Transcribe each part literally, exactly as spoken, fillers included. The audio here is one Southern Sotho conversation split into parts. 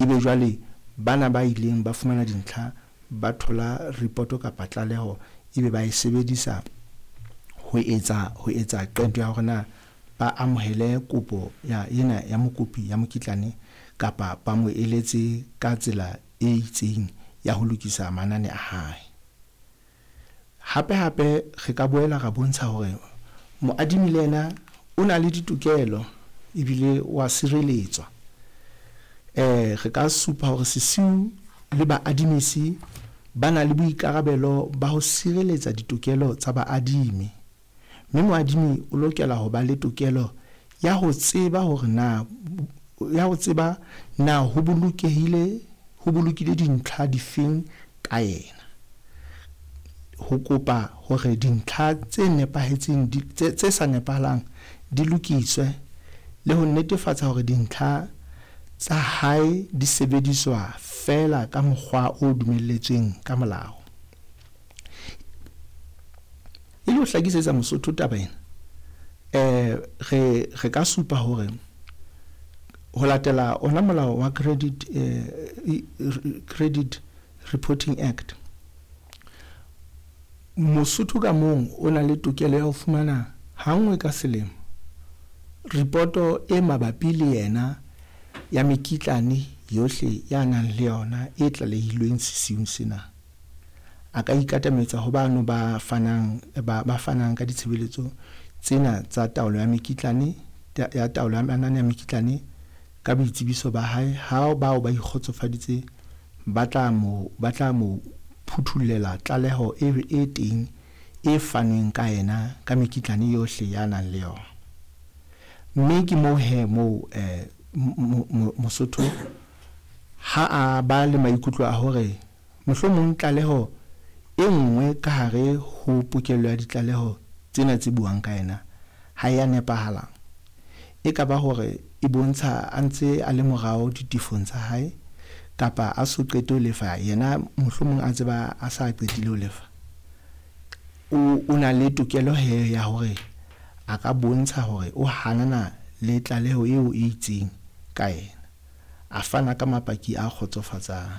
Ebe jwale bana ba ileng ba fumana dintlha ba thola report kapa tlaleho, ebe ba e sebedisa ho etsa ho etsa qeto ya hore na ba amohele kopo ya ena ya mokopi ya mokitlane kapa ba mo eletse ka tsela e itseng ya ho lokisa manane a hae. Hape hape re ka boela ra bontsha hore moadimi le yena o na le ditokelo ebile wa sireletswa. Eh re ka supa hore sesiu le baadimisi ba na le boikarabelo ba ho sireletsa ditokelo tsa baadimi. Mme moadimi o lokela ho ba le tokelo ya ho tseba hore na ya ho tseba na ho bolokehile ho bolokile dintlha difeng ka yena. Ho kopa hore dintlha tse nepahetseng tse tse sa nepahalang di lokiswe le ho netefatsa hore dintlha tsa hae di sebediswa feela ka mokgwa o dumelletsweng ka molao. E le ho hlakisetsa Mosotho taba ena, eh re re ka supa hore ho latela ona molao wa Credit eh Credit Reporting Act, Mosotho ka mong o na le tokelo ya ho fumana ha nngwe ka selemo ripoto e mabapi le yena ya mekitlane yohle ya nang le yona e tlalehilweng sesiung sena. A ka ikatametsa ho bano ba fanang ba, ba fanang ka ditshebeletso tsena tsa taolo ya mekitlane ya taolo ya manane a mekitlane ka boitsebiso ba hae. Ha bao ba ikgotsofaditse, ba tla mo ba tla mo phuthollela tlaleho e, e teng e fanweng ka yena ka mekitlane yohle ya nang le yona. Mme ke moo he moo eh Mosotho ha a ba le maikutlo a hore mohlomong tlaleho e nngwe ka hare ho pokello ya ditlaleho tsena tse buang ka yena ha ya nepahala, e ka ba hore e bontsha a ntse a le morao ditefong tsa hae kapa a so qete ho lefa, yena mohlomong a tseba a sa qetile ho lefa, o o na le tokelo he ya hore a ka bontsha hore o hanana le tlaleho eo e itseng ka yena, a fana ka mapaki a kgotsofatsang.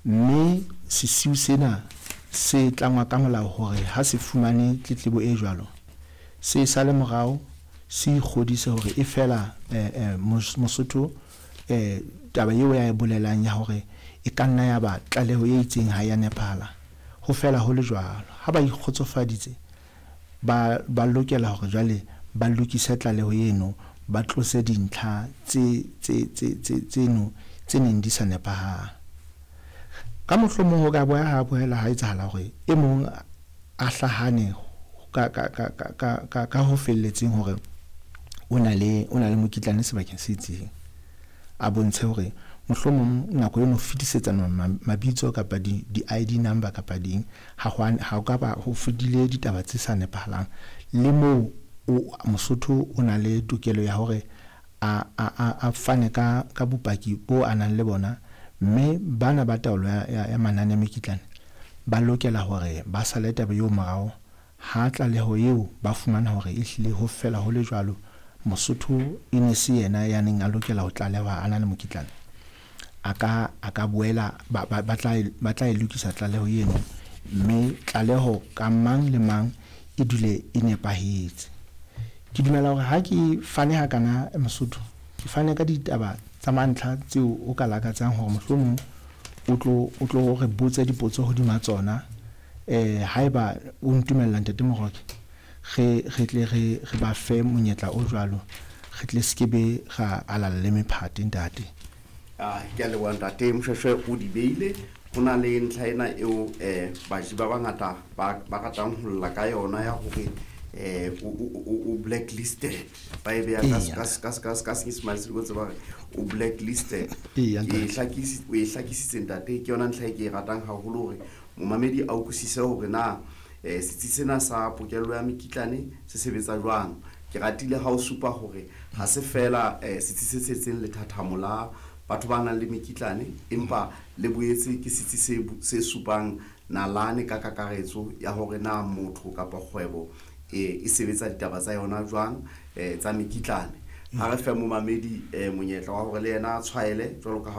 Mme sesiu sena se tlangwa ka molao hore ha se fumane tletlebo e jwalo, se sale morao, se ikgodise hore e fela eh, eh, Mosotho eh, taba eo ya e bolelang ya hore e ka nna ya ba tlaleho e itseng ha ya nepahala, ho fela ho le jwalo. Ha ba ikgotsofaditse, ba ba lokela hore jwale ba lokise tlaleho eno, ba tlose dintlha tse tse tse tse tseno tse neng di sa nepahala. Ka mohlomong ho ka boya ha boela ha etsahala hore e mong a hlahane ka ka ka ka ka ka ho felletseng hore o na le o na le mokitlane sebakeng se itseng, a bontshe hore mohlomong nako eno fetisetsana mabitso kapa di di I D number kapa ding, ha ho ha ka ba ho fetile ditaba tse sa nepahalang. Le moo o Mosotho o na le tokelo ya hore a a a fane ka ka bopaki bo a nang le bona, mme bana ba taolo ya, ya, ya manane a mekitlane ba lokela hore ba sale taba eo morao. Ha tlaleho eo ba fumana hore ehlile ho fela ho le jwalo, Mosotho e ne se yena ya neng a lokela ho tlalehwa a na le mokitlane, a ka a ka boela ba, ba, ba tla ba tla e lokisa tlaleho eno, mme tlaleho ka mang le mang e dule e nepahetse. Ke dumela hore ha ke fane hakana Mosotho, ke fane ka ditaba tsa mantlha tseo o ka lakatsang hore mohlomong o tlo o tlo re botse dipotso hodima tsona. Eh haeba o ntumella, Ntate Moroke, re re tle re re ba fe monyetla o jwalo, re tle skebe ra alala le mephate, ntate. Ah, ke a leboha, ntate Moshweshwe, o di beile. Ho na le ntlha ena eo um baji ba bangata ba ba ratang ho lla ka yona ya hore um o blacklisted, ba e beha ka Eya. ka ka ka ka Senyesemane se ko tseba hore o blacklisted. Eya, Ke ntate. hlakisi o e hlakisitse, ntate. Ke yona ntlha e ke e ratang haholo hore momamedi a utlwisise hore na um setsi sena sa pokello ya mekitlane se sebetsa jwang. Ke ratile ha o supa hore ha se fela um setsi se tshetseng lethathamo la batho ba nang le mekitlane, empa le boetse ke setsi se bu- se supang nalane ka kakaretso ya hore na motho kapa kgwebo e e sebetsa ditaba tsa yona jwang um tsa mekitlane. Ha re fe momamedi um monyetla wa hore le yena a tshwaele jwalo ka ha o